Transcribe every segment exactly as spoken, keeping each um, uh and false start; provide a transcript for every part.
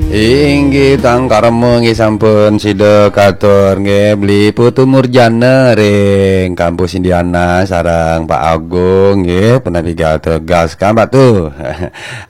Inggih, tangkarma nggih sampun sida katur nggih, Beli Putu Murjana ring Kampus Indiana sareng Pak Agung nggih, punapi gatra, gas kan Pak tu.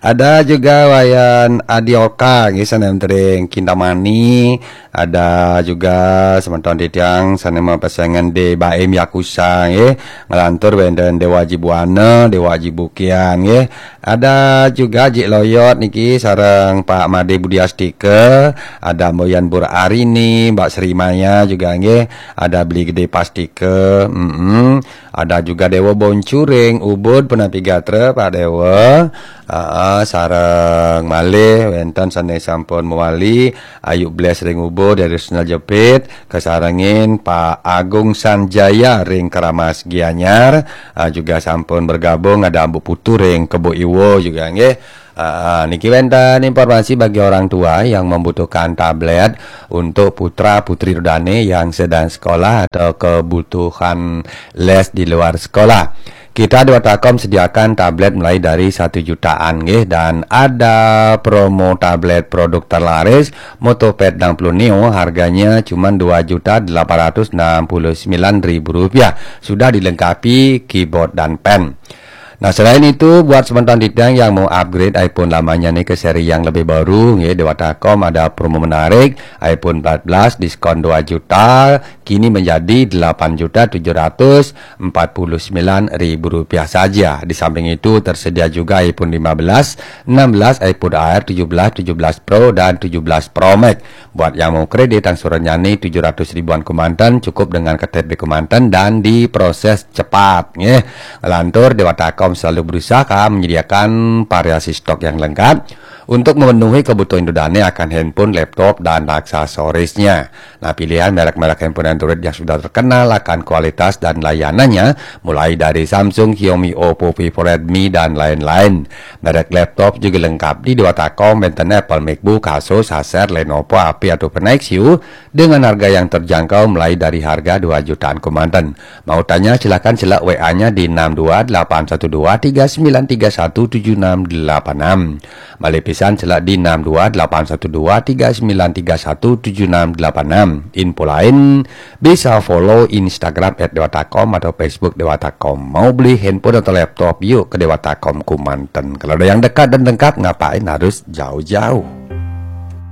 Ada juga Wayan Adioka nggih, sané ring Kintamani. Ada juga semeton titiang sané mapesengan Dé Baim Yakusa nggih, nglantur wénten Déwa Aji Buana, Déwa Aji Bukian nggih. Ada juga Jik Loyot niki sareng Pak Made Budi Astika, ada Mboyan Bur Arini, Mbak Sri Maya juga nggih, ada Beli Gedé Pastika, mm-mm. Ada juga Déwa Boncuring, Ubud punapi gatra, Pak Déwa. Aa, sareng malih wénten sané sampun mawali, Ayu Bless ring Ubud, Derisnel Jepit, kasarengin Pak Agung Sanjaya ring Keramas Gianyar, ah, juga sampun bergabung, ada Ambu Putu ring Kebo Iwa juga nggih. Ah, niki wénten informasi bagi orang tua yang membutuhkan tablet untuk putra putri ida dané yang sedang sekolah atau kebutuhan les di luar sekolah. Kita Dewata Home sediakan tablet mulai dari satu jutaan nggih, dan ada promo tablet produk terlaris Motopad enam puluh Neo, harganya cuma dua juta delapan ratus enam puluh sembilan ribu rupiah. Sudah dilengkapi keyboard dan pen. Nah, selain itu, buat semeton titiang yang mau upgrade iPhone lamanya nih ke seri yang lebih baru, nggih, Dewata Home ada promo menarik, iPhone empat belas diskon dua juta, kini menjadi delapan juta tujuh ratus empat puluh sembilan ribu rupiah saja. Di samping itu, tersedia juga iPhone lima belas, enam belas, iPhone Air tujuh belas, tujuh belas Pro, dan tujuh belas Pro Max. Buat yang mau kredit, angsurannya nih tujuh ratus ribuan kemanten, cukup dengan K T P kemanten dan diproses cepat, nggih. Lantur, Dewata Home selalu berusaha menyediakan variasi stok yang lengkap untuk memenuhi kebutuhan ida dané akan handphone, laptop, dan aksesorisnya. Nah, pilihan merek-merek handphone Android yang sudah terkenal akan kualitas dan layanannya, mulai dari Samsung, Xiaomi, Oppo, Vivo, Redmi, dan lain-lain. Merek laptop juga lengkap di Dewata Home, wénten Apple MacBook, Asus, Acer, Lenovo, H P, atau Nexus dengan harga yang terjangkau mulai dari harga dua jutaan kemanten. Mau tanya, silakan cek W A-nya di enam dua delapan satu dua tiga sembilan tiga satu tujuh enam delapan enam. Malih pisan, cek di enam dua delapan satu dua tiga sembilan tiga satu tujuh enam delapan enam. Info lain, bisa follow Instagram at dewata home atau Facebook Dewata Home. Mau beli handphone atau laptop, yuk ke Dewata Home kemanten. Kalau ada yang dekat dan lengkap, ngapain harus jauh-jauh?